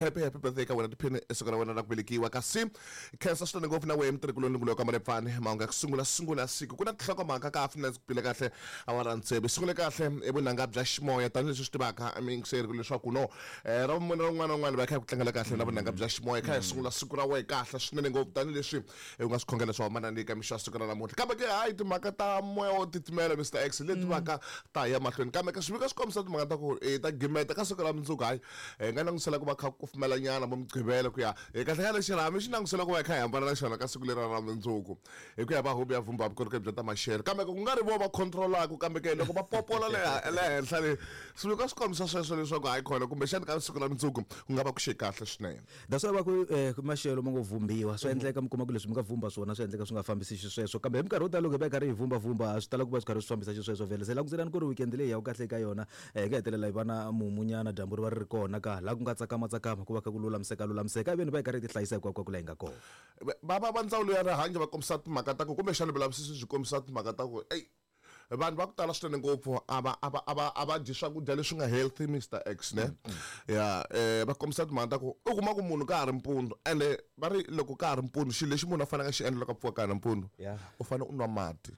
Happy happy birthday ka wena tiphini siku ra wena ra ku velekiwa kasi khensa swinene ngopfu na wehe mutirhikuloni ngulo ka Malepfani mahungu ya ku sungula sungula siku ku na tinhlokomhaka ka finance ku pile kahle awara tsevu sungule kahle i vunanga bya ximoya tanihileswi swi tivaka miyingiseri leswaku no ra vumune ra un'wana na un'wana va kha hi ku tlangela kahle na vunanga bya ximoya kha hi sungula siku ra wehe kahle swinene ngopfu tanihileswi u nga swi khongela swo hambana ni ka mixo ya siku ra namuntlha kambe ke hayi timhaka ta moya wo titimela Mr X leti vaka ta ya mahlweni kambe ka swivika swi kombisa timhaka ta ku ta gimeta ka siku ra mundzuku hayi hi nga langutisela ku va kha ku kufumela nyana vo mugqivela ku ya hi kahle kahle xirhami xi langutisela ku va hi kha hi hambana na xona ka siku leri ra mundzuku hi ku ya va huvo ya vumba vukorhokeri bya ta maxelo kambe ku nga ri vo va controlaka kambe ke loko va popola le le henhla le swivika swi kombisa sweswo leswaku hayi khona kumbexani ka siku ra mundzuku ku nga va ku xe kahle swinene. That's why va ku maxelo ma ngo vhumbiwa swa endleka mi kuma ku leswi mi nga vhumba swona swi endleka swi nga fambisi xisweswo kambe hi minkarhi yo tala loko hi va hi karhi hi vhumbavhumba swi tala ku va swi karhi swi fambisa xisweswo vhele se langutelani ku ri weekend leyi ya ku kahle eka yona hi nga hetelela hi va na mumunyana dyambu ri va ri ri kona ka laha ku nga tsakama tsakama ku va kha ku lulamiseka lulamiseka iveni va hi karhi hi tihlayisa hinkwako laha hi nga kona. Va ndzawulo ya rihanyo va kombisa timhaka ta ku kumbexana vulavisisi byi kombisa timhaka ta ku eyi vanhu va ku tala swinene ngopfu a va a va a va a va dyi swakudya leswi nga healthy Mr X ne ya va kombisa timhaka ta ku u kuma ku munhu ka ha ri mpundzu ende va ri loko ka ha ri mpundzu xilo lexi munhu a faneleke a xi endla loko a pfuka ka ha ri nampundzu u fanele u nwa mati.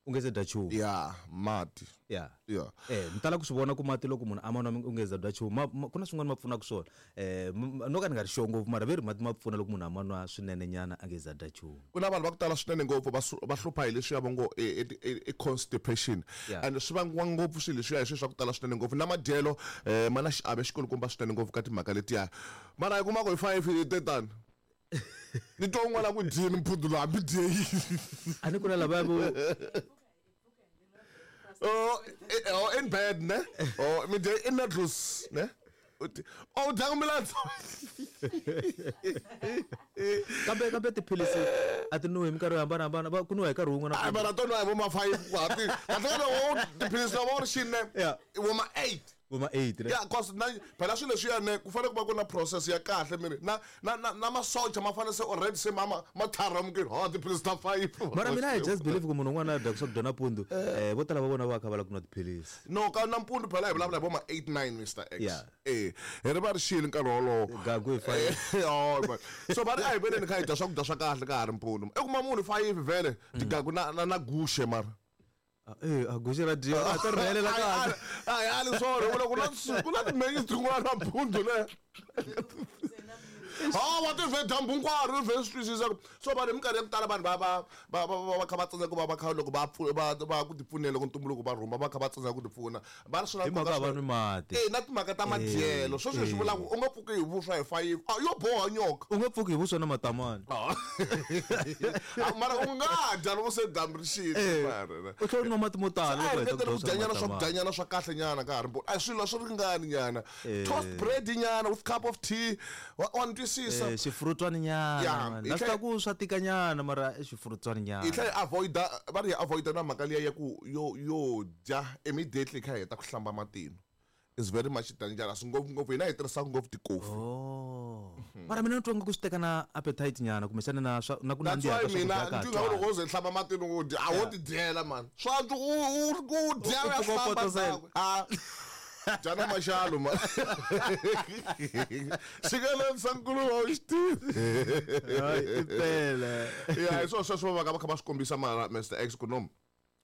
U nge se dya nchumu. Ya mati. Ya. Ya. Ni tala ku swi vona ku mati loko munhu a ma nwa u nge za dya nchumu ma ku na swin'wana ma pfunaka swona no ka ni nga ri sure ngopfu mara ve ri mati ma pfuna loko munhu a ma nwa swinene nyana a nge za dya nchumu. Ku na vanhu va ku tala swinene ngopfu va va hlupha hi leswiya va ngo i constipation and swi vangiwa ngopfu swilo leswiya hi swilo swa ku tala swinene ngopfu na madyelo ma na xiave xikulukumba swinene ngopfu ka timhaka letiya mara hi kuma ku hi 5 hi te tani. Ni twa un'wana a ku dyini mpundzu lowu hambi dye yini. A ni ku na lavaya vo Oh, oh, in bed ne? Oh, mi dye in noodles ne? Oh, u dyanga milandzu. Kambe kambe tiphilisi a ti nwiwi hi minkarhi yo hambanahambana va ku nwiwa hi nkarhi wun'we na. Mara to nwa hi vo ma 5 ku hapi. Kahle kahle wo tiphilisi lava u ri xini ne? Vo ma 8. Vo ma 8 ne? Yeah, cause na phela swilo leswiya ne ku fanele ku va ku na process ya kahle miri na na na na masocha ma fanele se already se ma ma tlharamukile ha tiphilisi ta 5. Mara mina I just believe ku munhu un'wana a dyaka swakudya nampundzu vo tala va vona va kha va lava ku nwa tiphilisi. No ka nampundzu phela hi vulavula hi vo ma 8 9 Mr X. Eh hi ri va ri xile nkarhi wolowo. Gagu hi 5. Oh man. So va ri a hi veleni kha hi dya swakudya swa kahle ka ha ri mpundzu. I kuma munhu 5 vhele tigagu na na na guxe mara. Eh, a guxe ra dyiwa a ta ri rhelela kahle. A hi ali swona vula ku na ku na timenyu tin'wana nampundzu le. Ha wa ti vhe dyambu hinkwaro ri vhe swi twisisa ku so vanhu hi minkarhi ya ku tala vanhu va va va va va kha va tsandzeka ku va va kha loko va va va ku tipfunela loko ntumbuluko va rhumba va kha va tsandzeka ku tipfuna va ri swi na Hi mhaka va nwi mati. Eh na timhaka ta madyelo sweswo hi swi vulaka u nga pfuki hi vuswa hi 5 a yo boha nyoka. U nga pfuki hi vuswa na matamani. Mara u nga dya loko se dyambu ri xile mara. U tlhela u nwa mati mo tala loko u heta ku dya kudyanyana swakudyanyana swa kahle nyana ka ha ri a swilo swi ringani nyana. Toast bread nyana with cup of tea wa ni twisisa. Xifurutwani nyana. Na swi tiva ku swa tika nyana mara i xifurutwani nyana. Hi tlhela hi avoid-a va ri hi avoid-a na mhaka liya ya ku yo yo dya immediately kha hi heta ku hlamba matino is very much dangerous ngopfungopfu hina hi tirhisaka ngopfu tikofi. Oh. Mara mina ni twa nga ku swi teka na appetite nyana kumbexana na swa na ku nandziha ka swakudya ka ha loko wo ze hlamba matino u dya a wo ti dyela mani swa antswa u dya u ya hlamba a dya na maxalo mani xikeleni sa nkuluva u xi tivi impela ya hi swona sweswo va va kha va swi kombisa mara Mr X ku no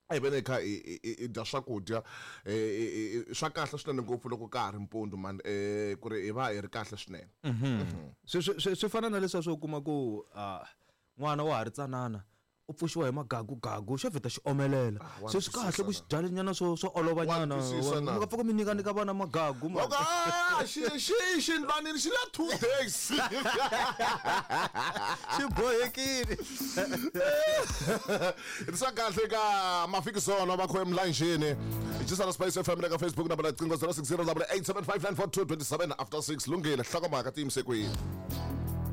a hi veni hi kha hi dya swakudya swa kahle swinene ngopfu loko ka ha ri mpundzu mani ku ri hi va hi ri kahle swinene. Swi swi fana na leswiya swo kuma ku n'wana wa ha ri tsanana u pfuxiwa hi magagugagu xo vheta xi omelela se swi kahle ku xi dya nyana swo swo olova nyana mi nga pfuka mi nyika nyika vana magagu ma xi xi xindlwanini xi la 2 days xi bohekile. Ri kahle ka mafikizolo va kho emlanjeni Jisana Spice FM le ka Facebook nambara riqingho 060 875 942 27 after 6 lunghile hlokomhaka tiyimise kwihi.